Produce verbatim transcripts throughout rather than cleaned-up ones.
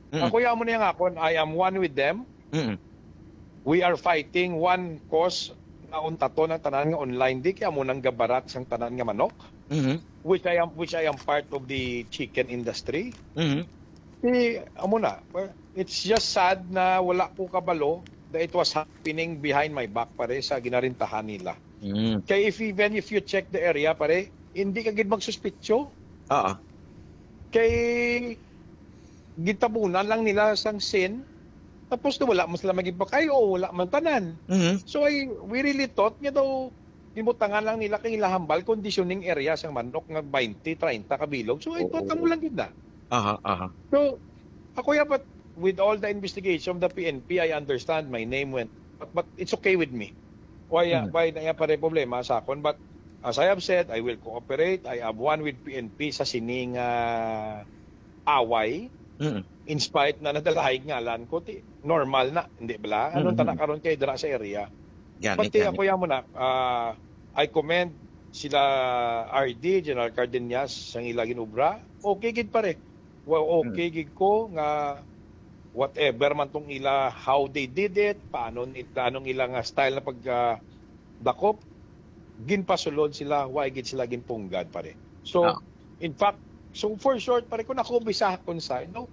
Mm. Ako, ya mo niya nga akon, I am one with them. Mm. We are fighting one cause nga untaton ang tanan nga online, di kaya mo nang gabarat sang tanan nga manok, Mm. which I am, which I am part of the chicken industry. Mm. Di, amo na. Well, it's just sad na wala ko kabalo that it was happening behind my back, pare, sa ginarintahan nila. Mm. Kay if, even if you check the area, pare, hindi ka gid magsuspitso. Ah. Kay gitabunan lang nila sang sin, tapos na wala man sila magipakay o wala man tanan. Mhm. So, I, we really thought nga daw gibutangan lang nila kay ila hambal conditioning area sang manok nga twenty, treinta ka bilog. So, I thought Oo. Amo lang gid na. Aha, aha. So, ako ya, but with all the investigation of the P N P, I understand my name went, but, but it's okay with me. Why, uh, Mm. why na ya pare problema sa akon? But as I have said, I will cooperate. I have one with P N P sa sining, ah, away. Mm. In spite na nadalaig ngalan ko, ti, normal na, hindi bala? Anong Mm. tana karon kay dira sa area? Gani, Pati gani. Ako ya mo na, ah, I commend sila R D, General Cardenas, sang ila ginobra. Okay gid pare. Well, okay Mm. gid ko nga whatever man tong ila, how they did it, paano ni-, anong ila nga style na pag, ah, dakop, ginpasulod sila, wa gid sila ginpunggad, pare. So, Ah. in fact, so for short, pare, kung ako bisa kung sa, no,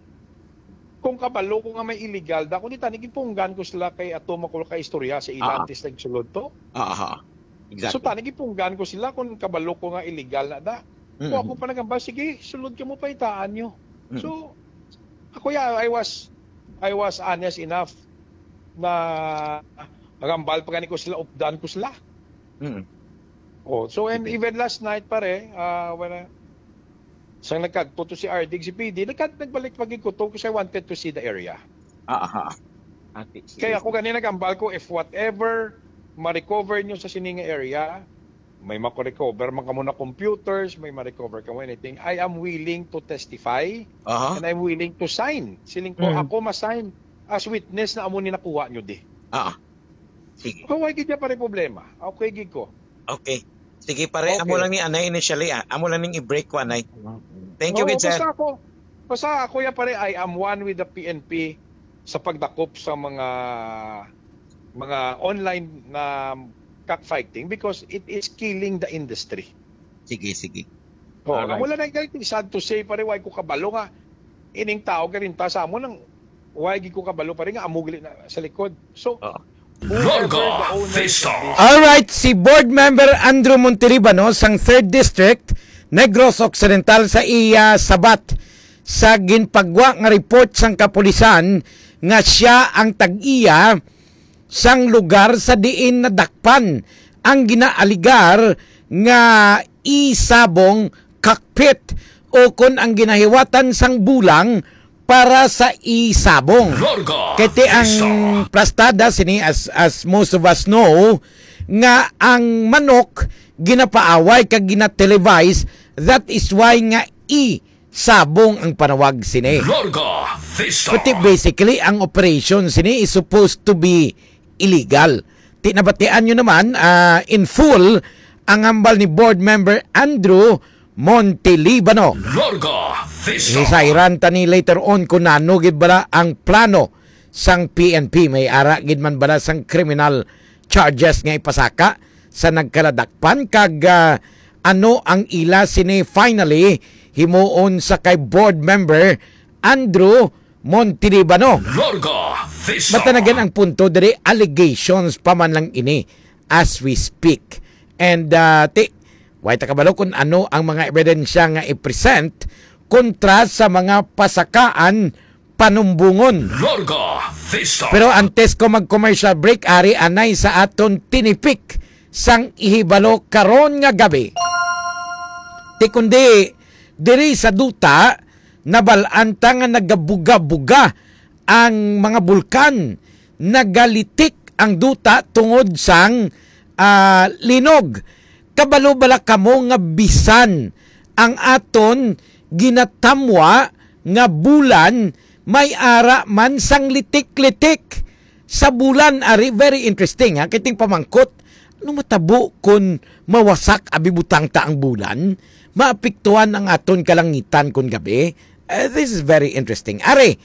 kung kabalo ko nga may illegal da, kung di tani, ginpunggan ko sila kay ato makul ka istorya sa ila Ah. antes nagsulod to. Aha. So, Exactly. Tani, ginpunggan ko sila kung kabalo ko nga illegal na da. Mm. Kung ako pa nagambal, sige, sulod ka mo, pahitaan nyo. Mm. So, ako ya, I was, I was honest enough na nagambal pa gani ko sila, updan ko sila. Mm. Oh, so, and Okay. even last night, pare, ah, when I, sang nagkadto to si R D, si P D, nagkad-, nagbalik pa gid ko to kasi I wanted to see the area. Ah, aha. Ati, sige, Kaya ako sige. Gani nagambal ko, if whatever ma-recover nyo sa sining area, may ma-recover man kamo na computers, may ma-recover kamo anything, I am willing to testify Aha. and I'm willing to sign. Siling ko, Mm. ako ma-sign as witness na amo ni nakuha nyo di. Ah. Sige. Kaway gid niya pare problema. Okay gid ko. Okay. Sige, pare, amo Okay. lang ni anay initially, ah. Amo lang ning i-break ko, anay. Thank you, Oo, gid, sir. Basta ako, basta ako ya, pare, I am one with the P N P sa pagdakop sa mga, mga online na cockfighting because it is killing the industry. Sige, sige. Oo, Alright. Wala na galit, sad to say, pare, why ko kabalo nga ining tao garinta sa amo nang why gid ko kabalo, pare, nga amo gali na sa likod. So, Oo. Whoever Larga the owner Vista. Of this Alright, si Board Member Andrew Montelibano sang Third District, Negros Occidental, sa iya sabat sa ginpagwa nga report sang kapulisan nga sia ang tag-iya sang lugar sa diin nadakpan ang ginaaligar nga isabong cockpit o kon ang ginahiwatan sang bulang para sa isabong. Larga Kay ti ang Vista. Plastada sini, as, as most of us know, nga ang manok ginapaaway kag ginatelevise, that is why nga isabong ang panawag sini. Larga Vista. But basically, ang operation sini is supposed to be illegal. Ti nabatian nyo naman, ah, in full, ang hambal ni Board Member Andrew Montelibano. Larga Vista. Hisairan ta ni later on kung nano gid bala ang plano sang P N P. May ara gid man bala sang criminal charges nga ipasaka sa nagkaladakpan kag, ah, ano ang ila sini finally himuon sa kay Board Member Andrew Montelibano. Larga Vista. But then again, ang punto diri, allegations pa man lang ini as we speak. And, ah, ti, way ta kabalo kung ano ang mga ebidensya nga i-present kontra sa mga pasakaan panumbungon. Larga Vista. Pero antes ko mag-commercial break, ari anay sa aton tinipik sang ihibalo karon nga gabi. Ti kundi diri sa duta, nabal-an ta nga nagabuga-buga ang mga bulkan, nagalitik ang duta tungod sang, ah, linog. Kabalo bala kamo nga bisan ang aton ginatamwa nga bulan may ara man sang litik-litik sa bulan? Ari, very interesting, ha, kay ting pamangkot, ano matabo kun mawasak abi butang ta ang bulan? Maapektuhan ang aton kalangitan kun gabi? Eh, this is very interesting. Ari,